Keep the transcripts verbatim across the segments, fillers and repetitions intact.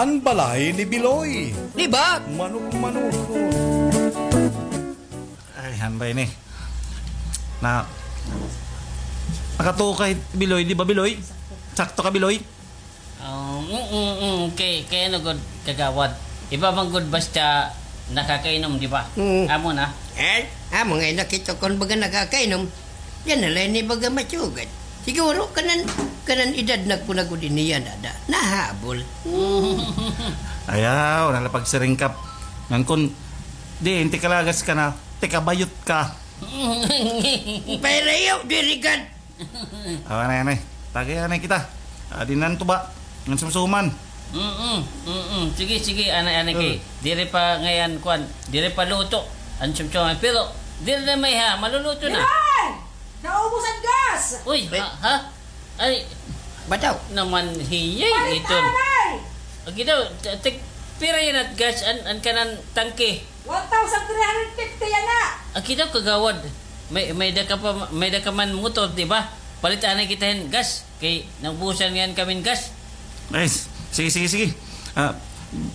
an balay ni Biloy. Di ba? Manok-manok. Ay, han ba ini? Na, nakatuo ka, Biloy, di ba, Biloy? Sakto ka, Biloy? Um, mm, mm, mm, kay, kay ano gud, kagawad. Iba man gud basta nakakainom, di ba? Mm. Amo na. Eh? Amo nga nakita kon baga nakakainom. Yana la ini baga masugad. Siguro kanan, kanan edad na ko na gud ini yana da. Nahabol. Ayaw, wala la pagsiringkap. Ngan kon, di, inti kalagas ka na, tikabayot ka. Pailayo, diri gad. Aw, anay, anay. Tagay, anay kita. Adi nan tuba. Ngan sumsuman. Mm-mm, mm-mm. Sige, sige, anay, anay kay. Mm. Diri pa ngay-an, kuan. Diri pa luto. An sumsuman. Pero, diri na may ha. Maluluto na. Biloy! Naubos an gas! Uy, ha? Ha? Ay. Bataw. Naman hiyay. Palit iton. Anay! Agi daw, t-, tig-, pira yana it gas an, an kanan tangke? One thousand three hundred fifty yana. Agi daw, kagawad. May, may-ada ka pa, may-ada ka man motor, di ba? Palit anay kita hin gas. Kay naubusan ngay-an kami hin gas. Ay, s-, sige, sige, sige. Ah,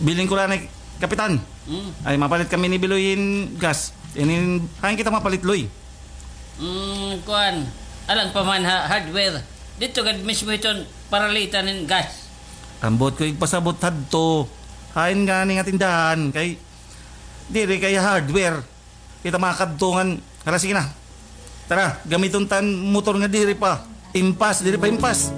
bilin ko la anay, Kapitan. Mm. Ay, mapalit kami ni Biloy hin gas. Inin, hain kita mapalit, Loy? Mm, kuan. Alang pa man ha hardware. Didto gad mismo iton paralitan hin gas. Ambot ko igpasabot hadto. Hain ngani nga tindahan kay diri kay hardware. Kita makadto ngan. Hala, sige na. Tara, gamiton ta an motor nga diri pa impas, diri pa impas.